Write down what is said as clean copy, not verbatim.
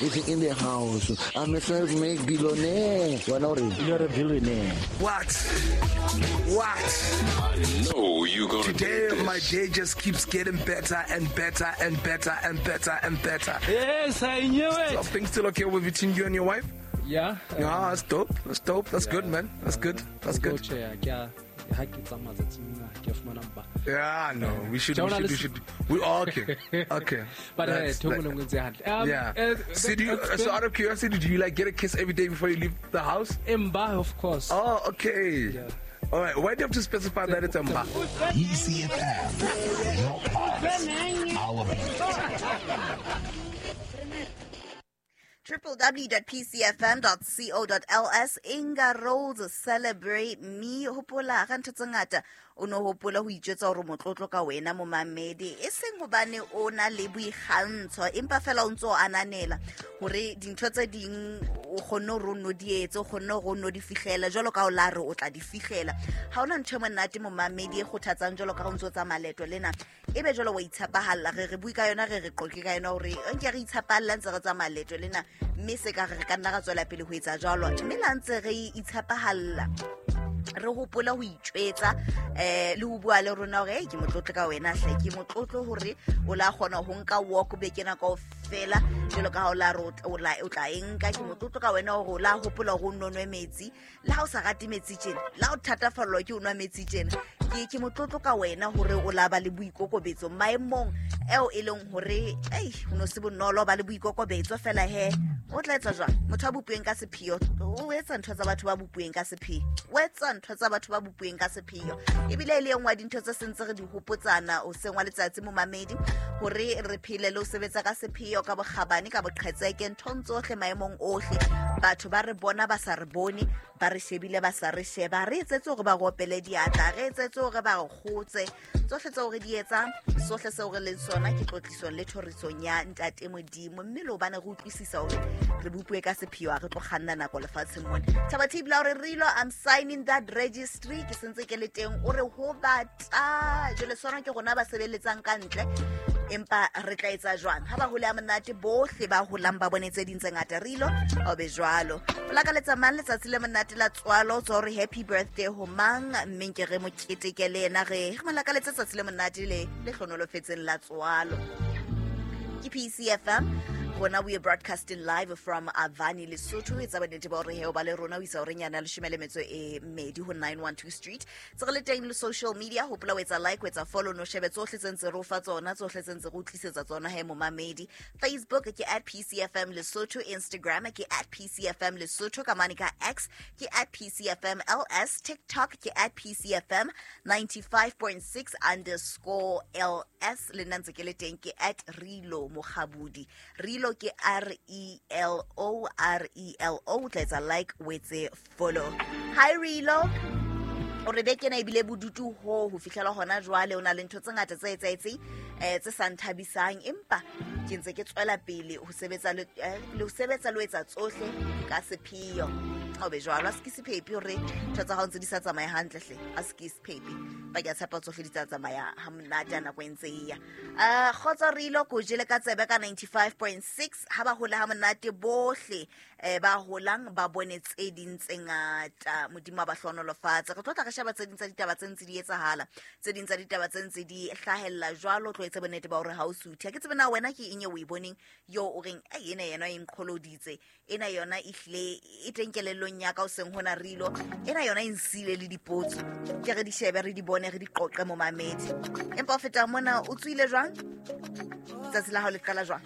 is in the house. I'm a self-made billionaire. Wena o reng? You're a billionaire. What? What? I know you gonna Today, dig this. my day just keeps getting better and better and better and better and better. Yes, I knew it. Are things still okay with between you and your wife? Yeah. Yeah, that's dope. That's dope. That's good, man. That's good. That's good. Tjhe, ke a ha ke tsamaya tsatsing lena, ke a fumana mpa. Yeah, no, we should, we Jonah, should, we listen. should. We all okay. Okay. But That's- ntho e nngwe le nngwe e ntse hantle. Yeah. So, do you, that's so been- out of curiosity, do you like get a kiss every day before you leave the house? Mba, of course. Oh, okay. Yeah. All right. Why do you have to specify that it's a mba? ECFM, your pulse, our beat. www.pcfm.co.ls Inga Rose celebrate me. Hopola ga ntho tse ngata o no hopola ho itjwetsa hore motlotlo ka wena momamedi, e seng hobane o na le boikgantsho, empa fela o ntso o ananela hore dintho tse ding o kgonne hore o nno di etse, o kgonne hore o nno di fihlela jwalo ka o la re o tla di fihlela. Ha hona ntho e monate momamedi e kgothatsang jwalo ka ha o ntso o tsamaya leeto lena, ebe jwalo wa itshepahalla. Re bue ka yona, re qoqe ka yona hore nke re itshepahalla ntse re tsamaya leeto lena, mme se ka re re ka nna ra tswela pele ho etsa jwalo. Mme la ntse re itshepahalla, re hopola ho itjwetsa le ho bua le rona hore, "Hey, ke motlotlo ka wena hle, ke motlotlo hore o la kgona ho nka walk beke ena kaofela jwalo ka ha o la re o tla e nka. Ke motlotlo ka wena hore o la hopola hore o nno nwe metsi, le ha o sa rate metsi tjena, le ha o thatafallwa ke ho nwa metsi tjena. Ke motlotlo ka wena hore o la ba le boikokobetso maemong eo e leng hore, ei, ho no se bonolo ba le boikokobetso fela he. O tla etsa jwang? Motho a bopuweng ka sepheo, o etsa ntho tsa batho ba bopuweng ka sepheo, o etsa ntho tsa batho ba bopuweng ka sepheo. Ebile e le e nngwe ya dintho tse sentse re di hopotsana hoseng wa letsatsi momamedi, hore re phele le ho sebetsa ka sepheo, ka bokgabane, ka boqhetseke, nthong tsohle, maemong ohle. Batho ba re bona ba sa re bone, ba re shebile ba sa re sheba, re etsetse hore ba re opele diatla, re etsetse hore ba re kgotse. Tsohle tseo re di etsang, sohle seo re leng sona ke tlotlisong le thorisong ya Ntate Modimo. Mme le hobane re utlwisisa hore re bopuwe ka sepheo, ha re tlo kganna nako lefatsheng mona. Thaba Thibela o re, Rilo, I'm signing that registry. Ke sentse ke le teng. O re ho bata. Jwale sona ke rona ba sebeletsang ka ntle, empa re tla etsa jwang ha ba hole ha monate, bohle ba holang ba bone tse ding tse ngata. Rilo, o be jwalo. O lakaletsa mang letsatsi le monate la tswalo? O tswa hore happy birthday ho mang, mme nke re mo keteke le yena, re mo lakaletse tsatsi le monate le hlonolofetseng la tswalo. Ke PCFM rona, we are broadcasting live from Avani, Lesotho. Etsa bonnete ba hore he o ba le rona ho isa horeng yana 12:30 ho 912 Street. Tse re le teng le social media, hopola ho etsa like, ho etsa follow, no shebe tsohle tse ntse re o fa tsona, tsohle tse ntse re o tlisetsa tsona he momamedi. Facebook ke at PCFM Lesotho, Instagram ke at PCFM Lesotho, ka mane ka X ke at PCFM LS, TikTok ke at PCFM 95.6 underscore LS. Le nna ntse ke le teng ke at Relo Mokgabudi. Relo ke R E L O, R E L O. O tla etsa like, o etse follow. Hi Relo. O re beke ena ebile bodutu ho fihlela hona jwale, o na le ntho tse ngata tse etsahetseng, tse sa nthabisang, empa ke ntse ke tswela pele ho sebetsa le ho sebetsa le ho etsa tsohle ka sepheo. O be jwalo, a se ke sephepi hore ntho tsa hao ntse di sa tsamaye hantle hle, a se ke sephepi. Ba ke a tshepa tsohle di tla tsamaya ha monate ha nako e ntse e ya. Kgotso Rilo, ko jele ka tsebe ka 95.6. Ha ba hola ha monate bohle, ba holang ba bone tse ding tse ngata. Modimo a ba hlohonolofatse. Re tlo tla re sheba tse ding tsa ditaba tse ntse di etsahala, tse ding tsa ditaba tse ntse di hlahella jwalo. Tlo etse bonnete ba hore ha o suthe. Ha ke tsebe na wena ke eng eo o e boneng yo o reng, ai, ena yona e nqholoditse, ena yona ehlile e teng kelellong ya ka hoseng hona Rilo, ena yona e nsile le dipotso. Ke re di shebe, re di bone, re di qoqe momamedi. Empa ho feta mona, o tswile jwang? Tsatsi la hao le qala jwang?